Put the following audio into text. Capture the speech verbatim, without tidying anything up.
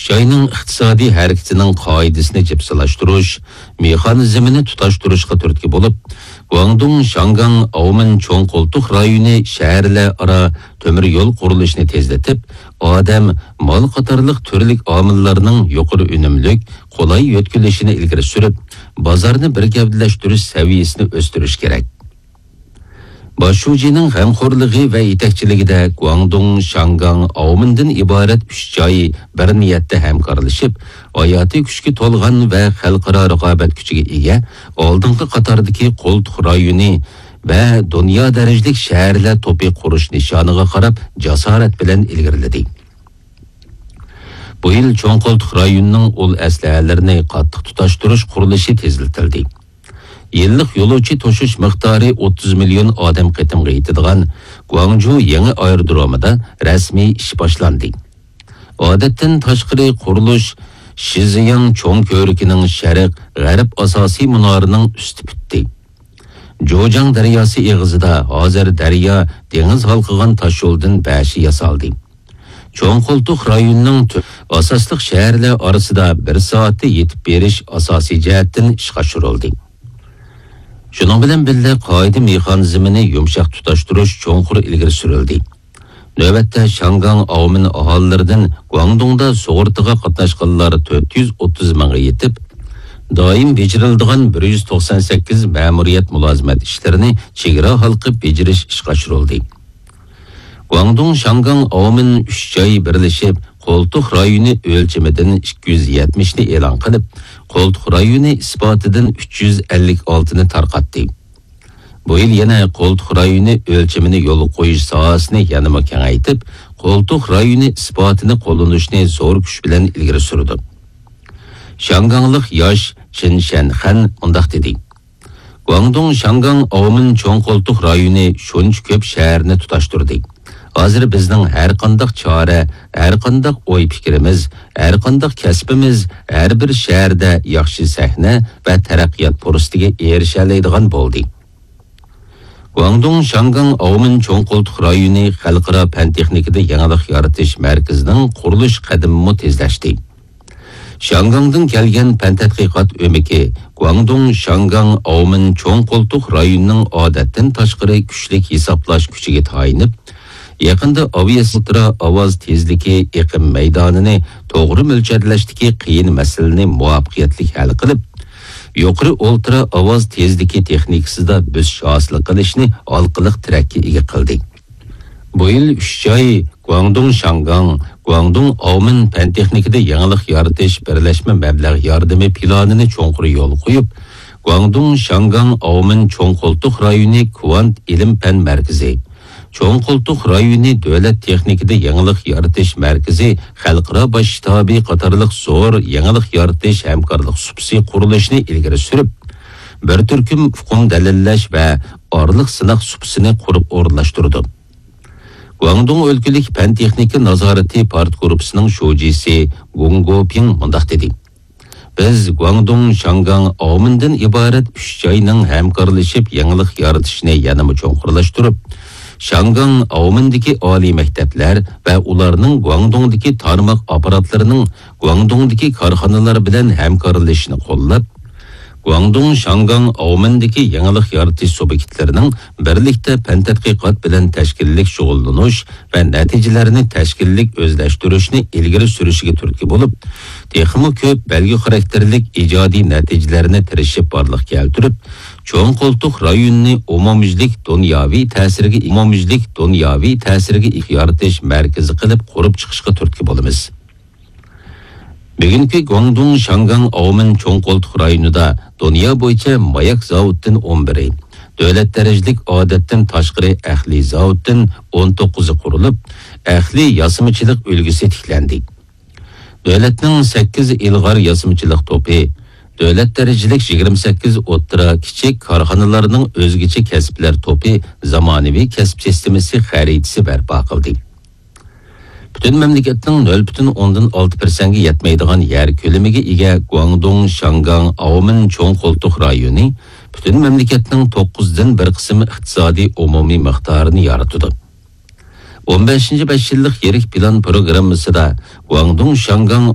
جاينىڭ ئىقتىسادىي ھەرىكىتىنىڭ قائىدىسىنى جىپسىلاشتۇرۇش، مېخانىزمىنى تۇتاشتۇرۇشقا تۈرتكە بولۇپ، گۇاڭدۇڭ شياڭگاڭ ئاۋمېن چوڭ قولتۇق رايونى شەھەرلەر ئارا تۆمۈر يول قۇرۇلۇشىنى تېزلىتىپ، ئادەم، مال قاتارلىق تۈرلۈك ئامىللارنىڭ يۇقىرى ئۈنۈملۈك، قولاي يۆتكىلىشىنى ئىلگىرى سۈرۈپ، بازارنى بىر گەۋدىلەشتۈرۈش سەۋىيەسىنى ئۆستۈرۈش كېرەك. باش شۇجىنىڭ غەمخورلۇقى ۋە يېتەكچىلىكىدە گۇاڭدۇڭ، شياڭگاڭ، ئاۋمېندىن ئىبارەت ئۈچ جاي بىر نىيەتتە ھەمكارلىشىپ، ھاياتىي كۈچكە تولغان ۋە خەلقئارا رىقابەت كۈچىگە ئىگە ئالدىنقى قاتاردىكى قولتۇق رايونى ۋە دۇنيا دەرىجىلىك شەھەرلەر توپى قۇرۇش نىشانىغا قاراپ جاسارەت بىلەن ئىلگىرىلىدى. بۇ يىل چوڭ قولتۇق رايونىنىڭ ئۇل ئەسلىھەلىرىنى قاتتىق تۇتاشتۇرۇش قۇرۇلۇشى تېزلىتىلدى. يىللىق يولۇچى توشۇش مىقدارى ئوتتۇز مىليون ئادەم قېتىمغا يېتىدىغان گۇاڭجۇ يېڭى ئايرودرومىدا رەسمىي ئىش باشلاندى. ئادەتتىن تاشقىرى قۇرۇلۇش شىزياڭ چوڭ كۆۋرۈكىنىڭ شەرق، غەرب ئاساسىي مۇنارىنىڭ ئۈستى پۈتتى. جوجياڭ دەرياسى ئېغىزىدا ھازىر دەريا دېڭىز ھالقىغان تاشيولدىن بەشى ياسالدى. چوڭ قولتۇق رايونىنىڭ تۆ-، ئاساسلىق شەھەرلەر ئارىسىدا بىر سائەتتە يېتىپ بېرىش ئاساسىي جەھەتتىن ئىشقا ئاشۇرۇلدى. شۇنىڭ بىلەن بىللە، قائىدە مېخانىزمىنى يۇمشاق تۇتاشتۇرۇش چوڭقۇر ئىلگىرى سۈرۈلدى. نۆۋەتتە شياڭگاڭ ئاۋمېن ئاھالىلىرىدىن گۇاڭدۇڭدا سۇغۇرتىغا قاتناشقانلار تۆت يۈز ئوتتۇز مىڭغا يېتىپ، دائىم بېجىرىلىدىغان بىر يۈز توقسان سەككىز مەمۇرىيەت مۇلازىمەت ئىشلىرىنى چېگرا ھالقىپ بېجىرىش ئىشقا ئاشۇرۇلدى. گۇاڭدۇڭ، شياڭگاڭ، ئاۋمېن ئۈچ جاي بىرلىشىپ، قولتۇق رايونى ئۆلچىمىدىن ئىككى يۈز يەتمىشنى ئېلان قىلىپ، قولتۇق رايونى ئىسپاتىدىن ئۈچ يۈز ئەللىك ئالتىنى تارقاتتى. بۇ يىل يەنە قولتۇق رايونى ئۆلچىمىنى يولغا قويۇش ساھەسىنى يەنىمۇ كېڭەيتىپ، قولتۇق رايونى ئىسپاتىنى قوللىنىشنى زور كۈچ بىلەن ئىلگىرى سۈرىدۇ. شياڭگاڭلىق ياش چىن شەنخەن مۇنداق دېدى: گۇاڭدۇڭ، شياڭگاڭ، ئاۋمېن چوڭ قولتۇق رايونى شۇنچە كۆپ شەھەرنى تۇتاشتۇردى. ھازىر بىزنىڭ ھەرقانداق چارە، ھەرقانداق ئوي-پىكرىمىز، ھەرقانداق كەسپىمىز ھەر بىر شەھەردە ياخشى سەھنە ۋە تەرەققىيات پۇرسىتىگە ئېرىشەلەيدىغان بولدى. گۇاڭدۇڭ، شياڭگاڭ، ئاۋمېن چوڭ قولتۇق رايونى خەلقئارا پەن-تېخنىكىدا يېڭىلىق يارىتىش مەركىزىنىڭ قۇرۇلۇش قەدىمىمۇ تېزلەشتى. شياڭگاڭدىن كەلگەن پەن تەتقىقات ئۆمىكى گۇاڭدۇڭ، شياڭگاڭ، ئاۋمېن چوڭ قولتۇق رايونىنىڭ ئادەتتىن تاشقىرى كۈچلۈك ھېسابلاش كۈچىگە تايىنىپ، يېقىندا ئاۋىئولترا ئاۋاز تېزلىكى ئېقىم مەيدانىنى توغرا مۆلچەرلەشتىكى قىيىن مەسىلىنى مۇۋەپپەقىيەتلىك ھەل قىلىپ، يۇقىرى ئولترا ئاۋاز تېزلىكى تېخنىكىسىدا بۆسۈش ھاسىل قىلىشنى ھالقىلىق تىرەككە ئىگە قىلدى. بۇ يىل ئۈچ جاي، گۇاڭدۇڭ، شياڭگاڭ، گۇاڭدۇڭ، ئاۋمېن پەن تېخنىكىدا يېڭىلىق يارىتىش بىرلەشمە مەبلەغ ياردىمى پىلانىنى چوڭقۇر يولغا قويۇپ، گۇاڭدۇڭ، شياڭگاڭ، ئاۋمېن چوڭ قولتۇق رايونى كۋانت ئىلىم پەن مەركىزى، چوڭ قولتۇق رايونى دۆلەت تېخنىكىدا يېڭىلىق يارىتىش مەركىزى خەلقئارا باش شتابى قاتارلىق زور يېڭىلىق يارىتىش ھەمكارلىق سۇپىسى قۇرۇلۇشىنى ئىلگىرى سۈرۈپ، بىر تۈركۈم ئۇقۇم دەلىللەش ۋە ئارىلىق سىناق سۇپىسىنى قۇرۇپ ئورۇنلاشتۇرىدۇ. گۇاڭدۇڭ ئۆلكىلىك پەن-تېخنىكا نازارىتى پارتگۇرۇپپىسىنىڭ شۇجىسى گۇڭ گوپىڭ مۇنداق دېدى: بىز گۇاڭدۇڭ، شياڭگاڭ، ئاۋمېندىن ئىبارەت ئۈچ جاينىڭ ھەمكارلىشىپ يېڭىلىق يارىتىشىنى يەنىمۇ چوڭقۇرلاشتۇرۇپ، شياڭگاڭ، ئاۋمېندىكى ئالىي مەكتەپلەر ۋە ئۇلارنىڭ گۇاڭدۇڭدىكى تارماق ئاپپاراتلىرىنىڭ گۇاڭدۇڭدىكى كارخانىلار بىلەن ھەمكارلىشىشىنى قوللاپ، گۇاڭدۇڭ، شياڭگاڭ، ئاۋمېندىكى يېڭىلىق يارىتىش سۇبيېكتلىرىنىڭ بىرلىكتە پەن تەتقىقات بىلەن تەشكىللىك شۇغۇللىنىش ۋە نەتىجىلەرنى تەشكىللىك ئۆزلەشتۈرۈشنى ئىلگىرى سۈرۈشىگە تۈرتكە بولۇپ، تېخىمۇ كۆپ بەلگە خاراكتېرلىك ئىجادىي نەتىجىلەرنى تىرىشىپ بارلىققا كەلتۈرۈپ، چوڭ قولتۇق رايونىنى ئومۇميۈزلۈك دۇنياۋى تەسىرگە، ئومۇميۈزلۈك دۇنياۋى تەسىرگە يارىتىش مەركىزى قىلىپ قۇرۇپ چىقىشقا تۈرتكە بولىمىز. بۈگۈنكى گۇاڭدۇڭ، شياڭگاڭ، ئاۋمېن چوڭ قولتۇق رايونىدا دۇنيا بويىچە ماياك زاۋۇتتىن ئون بىرى، دۆلەت دەرىجىلىك ئادەتتىن تاشقىرى ئەقلىي زاۋۇتتىن ئون توققۇزى قۇرۇلۇپ، ئەقلىي ياسىمىچىلىق ئۈلگىسى تىكلەندى. دۆلەتنىڭ سەككىز ئىلغار ياسىمىچىلىق توپى، دۆلەت دەرىجىلىك يىگىرمە سەككىز ئوتتۇرا، كىچىك كارخانىلارنىڭ ئۆزگىچە كەسىپلەر توپى زامانىۋى كەسىپ سىستېمىسى خەرىتىسى بەرپا قىلدى. پۈتۈن مەملىكەتنىڭ نۆل پۈتۈن ئوندىن ئالتە پىرسەنتكە يەتمەيدىغان يەر كۆلىمىگە ئىگە گۇاڭدۇڭ، شياڭگاڭ، ئاۋمېن چوڭ قولتۇق رايونى پۈتۈن مەملىكەتنىڭ توققۇزدىن بىر قىسىم ئىقتىسادىي ئومۇمىي مىقدارىنى يارىتىدۇ. ئون بەشىنچى بەش يىللىق يىرىك پىلان پروگراممىسىدا گۇاڭدۇڭ، شياڭگاڭ،